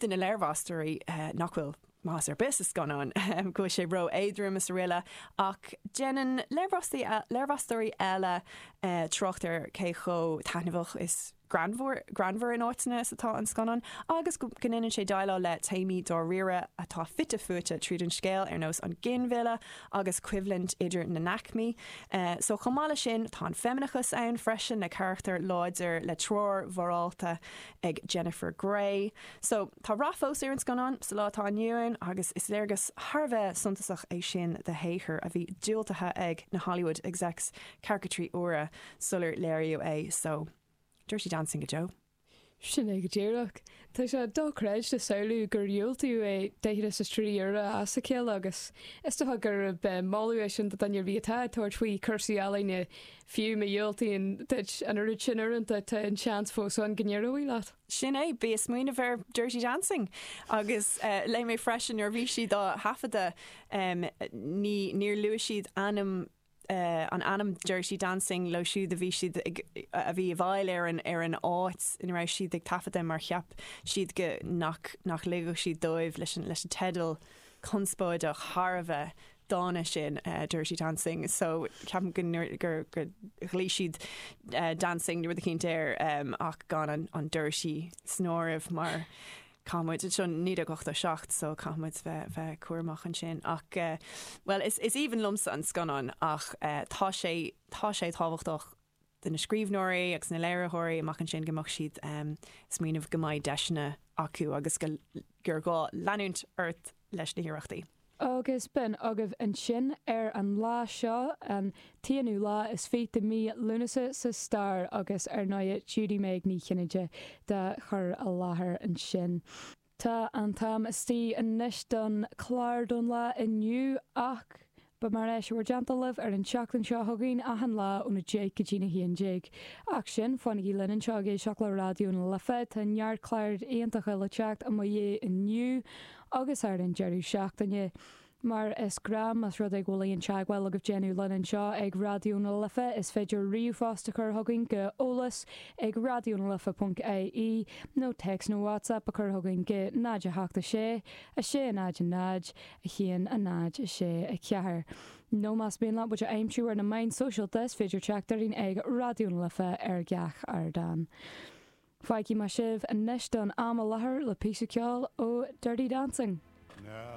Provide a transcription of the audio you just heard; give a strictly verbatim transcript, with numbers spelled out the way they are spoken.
de na léirmheastóirí nach bhfuil maitheas ar bith sa scannán go bhfuil sé ró-éadrom is araile ach déanann léirmheastóirí eile trácht ar cé chomh taitneamhach is greannmhar greannmhar in áiteanna is atá an scannán agus go ndéanann sé déileáil le téamaí dáiríre atá fite fuaite tríd an scéal ar nós an ginmhilleadh agus coimhlint idir na n-aicmí. So chomh maith leis sin tá an feimineachas ann freisin le carachtar láidir le treoir mhorálta ag Jennifer Grey. So tá rath fós ar an scannán sa lá atá inniu ann agus is léargas thar a bheith suntasach é sin de shaothar a bhí diúltaithe ag na Hollywood execs ceathracha trí huaire sular léiríodh é so Dirty Dancing go deo. Sin é go díreach. Tá sé dochreidte samhlú gur diúltaíodh é daichead is a trí uaire as a chéile agus is dócha gurb moladh é sin do dhuine ar bith atá ag tabhairt faoi chúrsaí ealaíne fiú má dhiúltaíonn duit an oiread sin uaireanta tá an seans fós ann go n-éireoidh leat. Sin é, bí ag smaoineamh ar Dirty Dancing agus léigh mé freisin nuair a bhí siad á thaifeadadh ní níor luaigh siad ainm an ainm Dirty Dancing leo siúd a bhí siad ag a bhí i bhfeighil ar an ar an áit ina raibh siad ag taifeadadh mar cheap siad go nach nach ligfeadh siad dóibh leis an leis an teideal conspóideach thar a bheith dána sin uh, Dirty Dancing so ceapaim go gur gur ghlaoigh siad uh, dancing nó rud eicínt air um, ach gan an, an dirty san áireamh mar caithfimid seo naoi déag ochtó seacht so caithfimid bheith bheith cúramach ansin ach uh, well is is aoibhinn liomsa an scannán ach uh, tá sé tá sé tábhachtach do na scríbhneoirí agus na léiritheoirí amach ansin go mbeadh siad um, smaoineamh go mbeidh deiseanna acu agus go gur gá leanúint ort leis na hiarrachtaí. Agus b'in agaibh ansin ar an lá seo an t-aonú lá is fiche de mí Lúnasa sa stair agus ar ndóigh Judy Meg Ní Chinnéide dá chur i láthair ansin. Tá an t-am istigh anois don chlár don lá inniu ach beidh mé ar ais i bhur dteannta libh ar an tseachtain seo chugainn achan lá óna deich go dtí na haon déag. Ach sin, fanaigí linn anseo ag éisteacht le Raidió na Life, tá neart cláir iontacha le teacht i mo dhiaidh inniu agus ar an deireadh seachtaine. Mar is gnách más rud é go bhfuil aon teagmháil agaibh déanamh linn anseo ag Raidió na Life is féidir ríomhphost a chur chugainn go eolas ag radionalife.ie nó text nó WhatsApp a chur chugainn go náid a hocht a sé, a sé náid a náid, a haon a náid a sé a ceathair. Nó más mian leat muid a aimsiú ar na meáin sóisialta is féidir teacht orainn ag Raidió na Life ar gach ardán. Fágfaidh mé sibh anois don am i láthair le píosa ceoil ó Dirty Dancing. Now